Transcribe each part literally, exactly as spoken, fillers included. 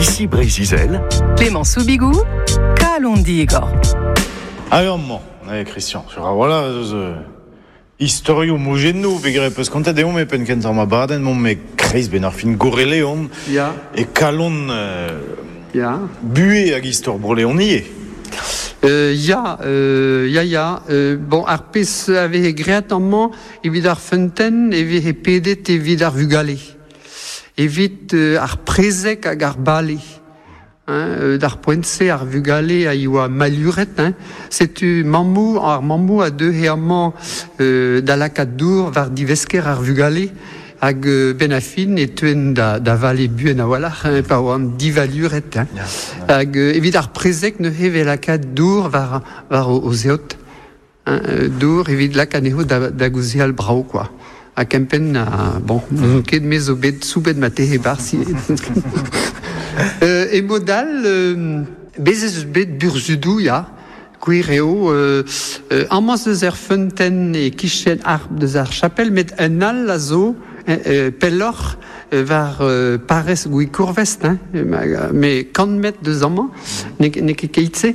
Ici Breizh-Izel, Clément Soubigou, Kalon Digor. Hag amañ, eh, Christian, sur voilà, eus euh, istorioù mojennoù, pegre peus kontet deomp e penn kentañ ma badenn, mont me kreiz ben ar fin goreleon, Ya, e kalon euh, ya. buhe hag istor broleonie. Euh, ya, euh, ya, ya. Euh, bon, ar pez a veze graet amañ evit ar feunteun e veze pedet evit ar vugale. Evit euh, ar prezeg hag ar bale. Hein, euh, d'ar poent-se ar vugale a ioa maluret, hein. Setu mammou, ar mammou a deue amañ euh, da lakaat dour war divesker ar vugale hag euh, ben a fin e teuen da, da vale buen a-walc'h, hein, pa oant divaluret. Hein. Hag euh, evit ar prezeg neuze vez lakaat dour war, war o, o zeot. Hein, euh, dour evit lakaat anezho da, da gouzeal brao, quoi. Ha kempenn, a, bon, n'on ket me zo bet soubet ma tehe barsi. euh, e modal, euh, bez ez eus bet burzudou, ya, gwir eo, euh, euh, amañ eus er feunteun e kichen ar deus ar chapel, met un all a zo, euh, euh, pelloc'h euh, war euh, parrez Gwikourvest, hein, ma- me kant metr deus amañ, ne, ne ket keit-se.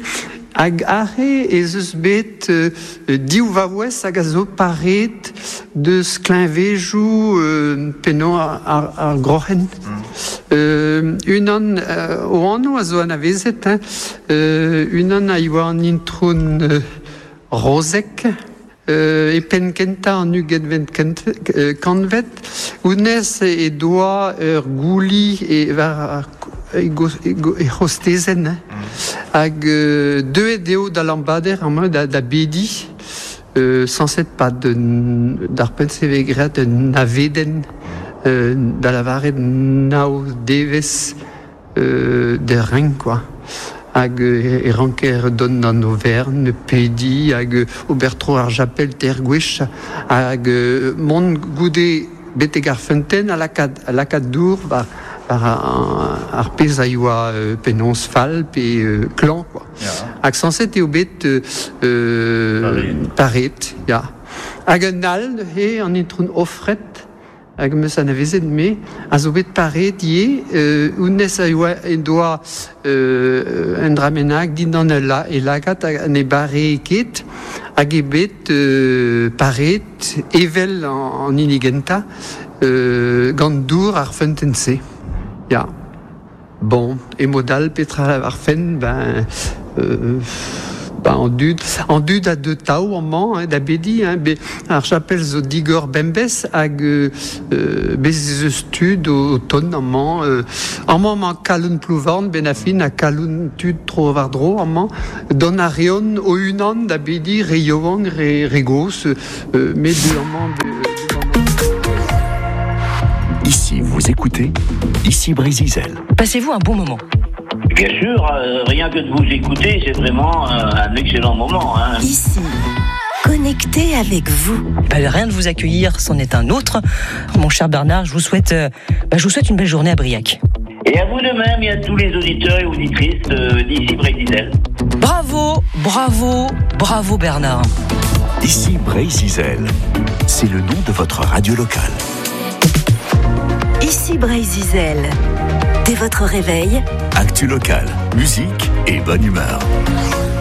Hag arre ez eus bet euh, div vaouez hag a zo paret deus kleñvejoù euh, pennañ ar, ar, ar groc'hen. Euh, unan euh, o anv a zo anavezet, hein, euh, unan a ioa an intron euh, Rozek, euh, e penn kentañ an ugentvet kent, euh, kantved, honnezh e doa ur gouli e war ar e, go, e, go, e c'hostezenn, hein. Hag euh, deuet eo da Lambader amañ da, da bedi, euh, sañset pa de, d'ar penn se vez graet un navedenn euh, da lavaret nav devezh euh, de renk, quoi. Hag euh, e ranker dont an overn, pedi, hag euh, ober tro ar japel ter gwech, hag euh, mont goude betek ar feunteun a lakaat, a lakaat dour war, war ar, ar pezh a ioa euh, penaos fall pe euh, klañv, quoi. Ya. Hag sañset eo bet euh, euh, paret, ya. Hag un all neuze an intron Offret, hag meus anavezet me, a zo bet paret ivez, euh, honnezh a ioa en doa euh, un dra bennak dindan e la, e lagad hag ne bare ket, hag eo bet euh, paret evel an, an hini gentañ, euh, gant dour ar feunteun-se. Ya. Bon, e mod all petra ar fenn, ben, euh, ben an dud, an dud a deu tav amañ, hein, da bedi, hein, be, ar chapel zo digor bembez hag euh, euh, bez ez eus tud o, o tont amañ, euh, amañ emañ kalon Plouvorn, ben a fin, ha kalon tud tro war dro amañ, dont a reont o unan da bedi re yaouank, re, re gozh, euh, met de amañ be, Ici vous écoutez, ici Breizh-Izel. Passez-vous un bon moment. Bien sûr, euh, rien que de vous écouter, c'est vraiment euh, un excellent moment. Hein. Ici, connecté avec vous. Bah, rien de vous accueillir, c'en est un autre. Mon cher Bernard, je vous souhaite, euh, bah, je vous souhaite une belle journée à Briac. Et à vous de même, et à tous les auditeurs et auditrices euh, d'ici Breizh-Izel. Bravo, bravo, bravo Bernard. Ici Breizh-Izel. C'est le nom de votre radio locale. Ici Breizh-Izel. Dès votre réveil, Actu locale, musique et bonne humeur.